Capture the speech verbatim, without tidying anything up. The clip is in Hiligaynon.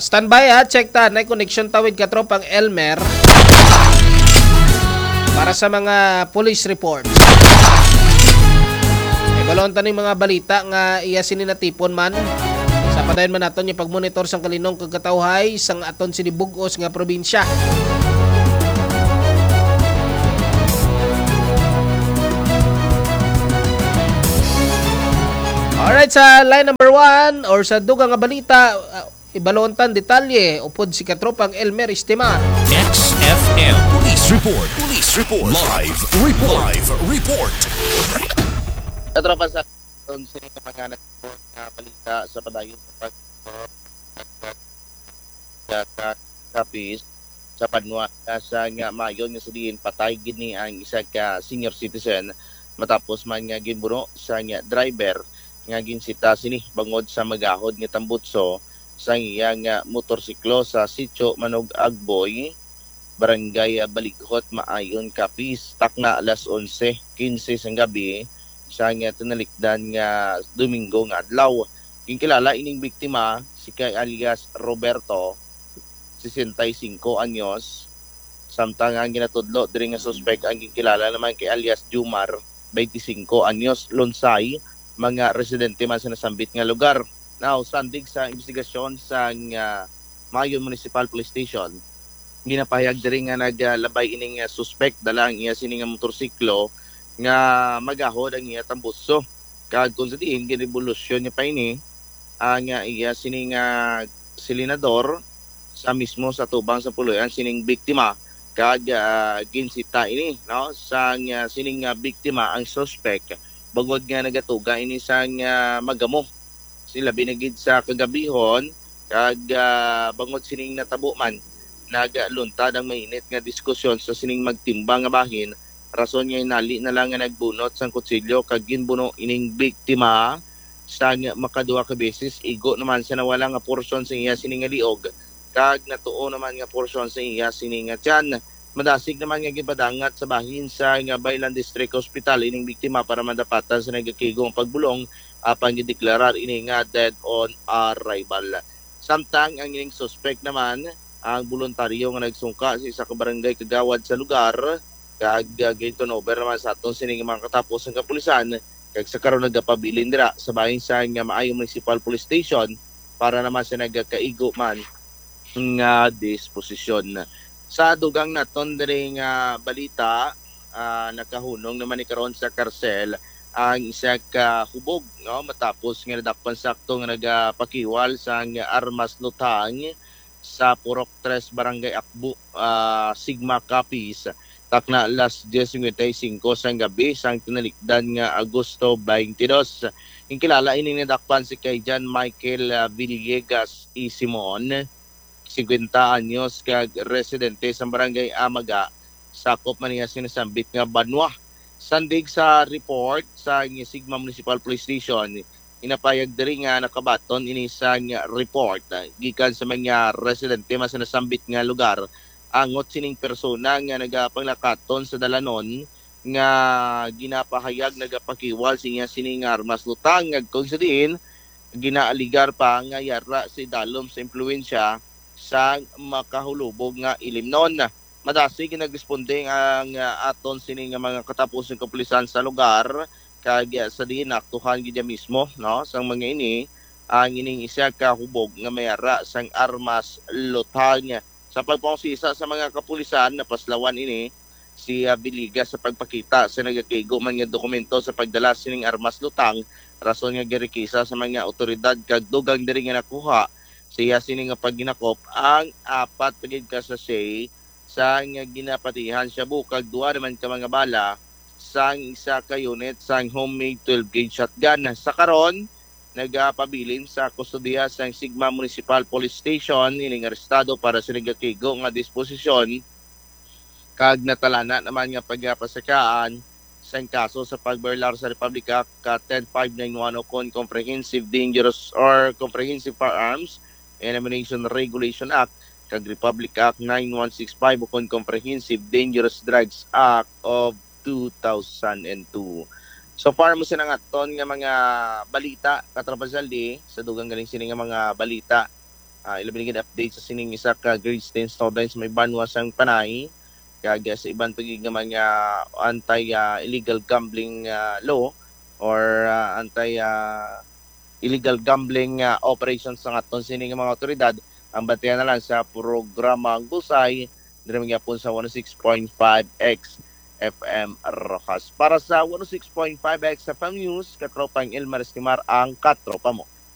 Standby ha, check ta. Nay connection tawid ka tropang Elmer para sa mga police report. Ay, balon ta ning mga balita nga iya sini natipon man. Sa padayon man naton yung pagmonitor sang kalinong kag katawhay sang aton sini bugos nga probinsya. Alright, sa line number one or sa dugang nga balita, uh, ibalon tan detalye upod si katropang Elmer Estimar. X F M Police Report. Police Report. Live Report. Live Report. Katropa, sa aton sa mga nagpon nga balita sa padayon sa pag sa kapis sa banwa nga sa nga mayon nga sa diin patay gid ni ang isa ka senior citizen matapos man nga ginbuno sa nga driver nga ginsita sini bangod sa magahod nga tambutso sa iya nga motorsiklo sa Sitio Manog Agboy, Barangay Balighot, Maayon, Capiz, takna alas onse quince sang gabi sa nga tinalikdan nga Domingo nga adlaw. Ginkilala ining biktima si kay alias Roberto, sesenta y cinco anyos, samtang ang ginatudlo diri nga suspek ang ginkilala naman kay alias Jumar, twenty-cinco anyos, Lonsay, mga residente man sa nasambit nga lugar. Now, sandig sa investigasyon sa nga Mayon Municipal Police Station, ginapahayag diri nga naglabay ining ah, suspek dala ang iya sini nga motorsiklo nga magahod ang iya tambuso. Kag kung sa diin, ginrevolusyon niya pa ini ang ah, iya sini nga silinador sa mismo sa tubang sa puloy-an sining biktima kag ah, ginsita ini, no, sang ah, sining ah, biktima ang suspek bangod nga nagatuga ini sang ah, magamo, si labi na gid sa kagabihon kag ah, bangod sining natabo man, nagaluntad ang mainit nga diskusyon sa sining magtimbang nga bahin, rason nga hinali na lang nga nagbunot sang kutsilyo kag ginbuno ining biktima sang makaduha ka beses. Igo naman sa nawala nga porsyon sa iya sini nga liog kag natuo naman nga porsyon sa iya sini nga tiyan. Madasig naman nga gipadangat sa bahin sa nga Baylan District Hospital ining biktima para madapatan sa nagakigo nga pagbulong, apan gideklarar ini nga dead on arrival. Samtang ang ining suspek naman ang boluntaryo nga nagsungka sa isa ka barangay kagawad sa lugar, kag ah, gin-turnover naman sa aton sini nga mga katapos nga kapulisan, kag sa karon nagapabilin dira sa bahin sa nga Maayo Municipal Police Station para naman sa nagakaigo man nga disposisyon. Sa dugang naton diri nga balita, ah, nakahunong naman ni karon sa karsel ang isa ka hubog, no, matapos nga nadakpan sakto nga nagapakiwal sang armas lutang sa Purok Tres, Barangay Akbo, ah, Sigma, Capiz, takna alas diez cincuenta y cinco sang gabi sang tinalikdan nga Agosto twenty-two. Ginkilala ining nadakpan si kay John Michael ah, Villegas E. Simon, singkwenta anyos, kag residente sa Barangay Amaga, sakop man niya sinasambit nga banwa. Sandig sa report sa Sigma Municipal Police Station, inapayag diri nga nakabaton ini sang report ah, gikan sa mga residente man sa nasambit nga lugar angot sining persona nga nagapanglakaton sa dalanon nga ginapahayag nagapakiwal sa iya sini nga armas lutang, kag kung sa diin ginaaligar pa nga yara sa idalom sa impluwensya sang makahulubog nga ilimnon. Madasig nga nagresponde ang ah, aton sini nga mga katapusang kapulisan sa lugar, kag ah, sa diin naaktuhan gid mismo, no, sang mga ini ang ining isa ka hubog nga may ara sang armas lutang. Sa pagpangusisa sa mga kapulisan, napaslawan ini si ah, Villegas sa pagpakita sa nagakaigo man nga dokumento sa pagdala sining armas lutang, rason nga ginrekisa sa mga awtoridad, kag dugang diri nga nakuha sa iya sini nga paghinakop ang apat pa gid ka sachet sa nga ginapatihan shabu, kag duha naman ka mga bala sang isa ka unit sang homemade twelve gauge shotgun. Sa karon, nagapabilin sa kustodiya sang Sigma Municipal Police Station ining arestado para sa nagakaigo nga disposisyon, kag natalana naman nga pagapasakaan sang kaso sa pag-burlar sa Republic Act ka ten five nine one ukon Comprehensive Dangerous or Comprehensive Firearms and Ammunition Regulation Act kag Republic Act nine one six five ukon Comprehensive Dangerous Drugs Act of two thousand and two. So far mo sila nga aton nga mga balita, Katropa Zaldi, sa dugang galing sini nga mga balita. Ah, ilabi na gid update sa sining isa ka grade ten students may banwa sang Panay, kag, ah, sa iban pa gid nga mga anti, ah, illegal gambling, ah, law or, ah, anti, ah, illegal gambling, ah, operations sa aton sini nga mga otoridad. Ang bantayan na lang sa programa ang Bullseye, diri man gyapon sa one oh six point five X F M Rojas. Para sa one oh six point five X F M News, katropang Elmer Estimar ang katropa mo.